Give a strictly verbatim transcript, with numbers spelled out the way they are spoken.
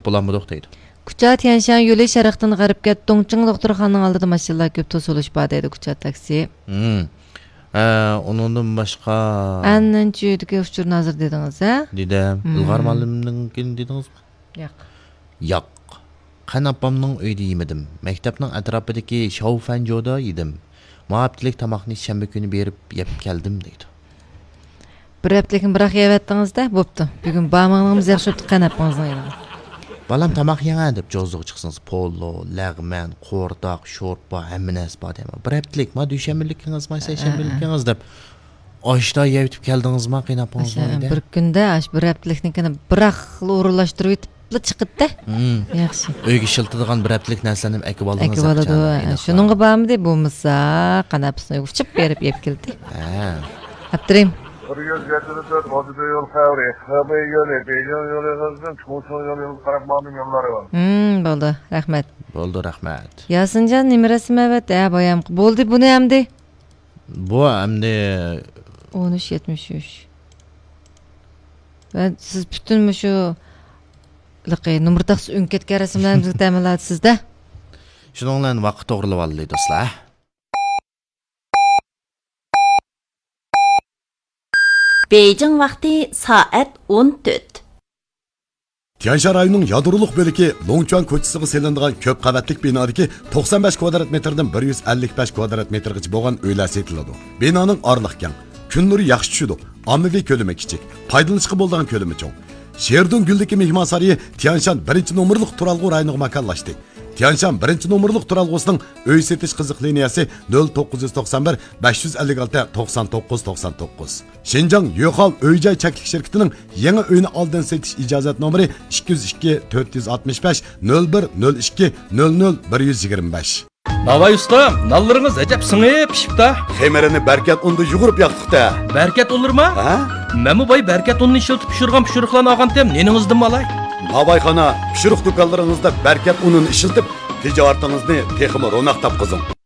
بولالمىدۇق دەيدۇ. كۇچا تيەنشان يولى شەرقتىن غەربكە دۇڭچىڭ دوختۇرخانىنىڭ ئالدىدا ماشىنىلار كۆپ توسۇلۇش بار دەيدۇ، كۇچا تاكسى. ھىم. ھە، ئۇنىڭدىن باشقا. ئەننەنچۈدىكى ئۇچۇرنى ھازىر دېدىڭىز، ھە؟ دېدىم. ھىم. ئىلغار مۇئەللىمنىڭكىنى دېدىڭىزمۇ؟ ياق. ياق. قەن ئاپامنىڭ ئۆيىدە يېمىدىم. مەكتەپنىڭ ئەتراپىدىكى شاۋفەنجودا يېدىم. ما ھەپتىلىك تاماقنى شەنبە كۈنى بېرىپ يەپ كەلدىم دەيدۇ. بىر ھەپتىلىكنى بىراق يەۋەتتىڭىز-دە، بوپتۇ. بۈگۈن بارمىغىنىڭىز ياخشى بوپتۇ، قەن ئاپىڭىزنىڭ يېنىغا. بالام، تاماق يەڭە دەپ جوزىغا چىقسىڭىز، پولۇ، لەغمەن، قورتاق، شورپا، ھەممە نەرسە بار دەيمەن. بىر ھەپتىلىك، ما دۈشەنبىلىكىڭىز، ما سەيشەنبىلىكىڭىز دەپ ئاشتا يەۋېتىپ كەلدىڭىزما قېيىنئاپىڭىزنىڭ ئاشۇ ئۆيىدە؟ بىر كۈندە ئاشۇ بىر ھەپتىلىكنىڭكىنى بىراقلا ئورۇنلاشتۇرۇۋېتىپلا چىقىدۇ-دە. ھىم. ياخشى. ئۆيگە ئىشلىتىدىغان بىر ھەپتىلىك نەرسىلەرنى ھەم ئەكىۋالدىڭىز. ئەكىۋالىدۇ. ھە، شۇنىڭغا بارمىدى، بولمىسا قەن ئاپىسىنىڭ ئۆيىگە ئۇچۇپ بېرىپ يەپ كەلدى. ھە. ئاپتىرىن. بىر يۈز يەتتە تۆت ئوتتۇز يول خەۋىرى. خېبېي يولى، بېيجىڭ يولى قىزدىن چۇڭشۇڭ يولى قاراپ ماڭدىم يوللارى بار. ھىم، بولدى، رەھمەت. بولدى، رەھمەت. ياسىنجان نېمە رەسىم ئەۋەتتى؟ ھە، بايام. بولدى، بۇنى ئەمدى. بۇ ئەمدى. ئون ئۈچ يەتمىش ئۈچ. ۋە سىز پۈتۈن مۇشۇ لىقى نومۇر تاختىسى ئۆڭ كەتكەن رەسىملەرنى بىزگە تەمىنلەۋاتىسىز-دە. شۇنىڭ بىلەن ۋاقىت توغرىلىۋالدى، دوستلار. بېيجىڭ ۋاقتى سائەت ئون تۆت. تيەنشان رايونىنىڭ يادرولۇق بۆلىكى لوڭچۈەن كوچىسىغا سېلىنىدىغان كۆپ قەۋەتلىك بىنادىكى توقسان بەش كۋادرات مېتىردىن بىر يۈز ئەللىك بەش كۋادرات مېتىرغىچە بولغان ئۆيلەر سېتىلىدۇ. بىنانىڭ ئارىلىق كەڭ، كۈن نۇرى ياخشى چۈشىدۇ، ئاممىۋى كۆلىمى كىچىك، پايدىلىنىشقا بولىدىغان كۆلىمى چوڭ. شېردۇن گۈلدىكى مېھمانسارىيى تيەنشان بىرىنچى نومۇرلۇق تۇرالغۇ رايونىغا ماكانلاشتى. تيەنشان بىرىنچى نومۇرلۇق تۇرالغۇسىنىڭ ئۆي سېتىش قىزىق لىنىيەسى نۆل توققۇز يۈز توقسان بىر، بەش يۈز ئەللىك ئالتە، توقسان توققۇز، توقسان توققۇز. شىنجاڭ يۆخاۋ ئۆي جاي چەكلىك شىركىتىنىڭ يېڭى ئۆينى ئالدىن سېتىش ئىجازەت نومۇرى ئىككى يۈز ئىككى، تۆت يۈز ئاتمىش بەش، نۆل بىر، نۆل ئىككى، نۆل نۆل، بىر يۈز يىگىرمە بەش. ناۋاي ئۇستام، نانلىرىڭىز ئەجەب سىڭىپ پىشىپتا. خېمىرىنى بەركەت ئۇندا يۇغۇرۇپ ياقتۇق-تە. بەركەت ئۇنلىرىما؟ ھە؟ مەنمۇ باي بەركەت ئۇنىنى ئىشلىتىپ پىشۇرغان پىشۇرۇقلارنى ئالغانتىم، نېنىڭىزدىنمۇ ئالاي. ناۋايخانا، پىشۇرۇق دۇكانلىرىڭىزدا بەركەت ئۇنىنى ئىشلىتىپ، تىجارىتىڭىزنى تېخىمۇ روناق تاپقۇزۇڭ.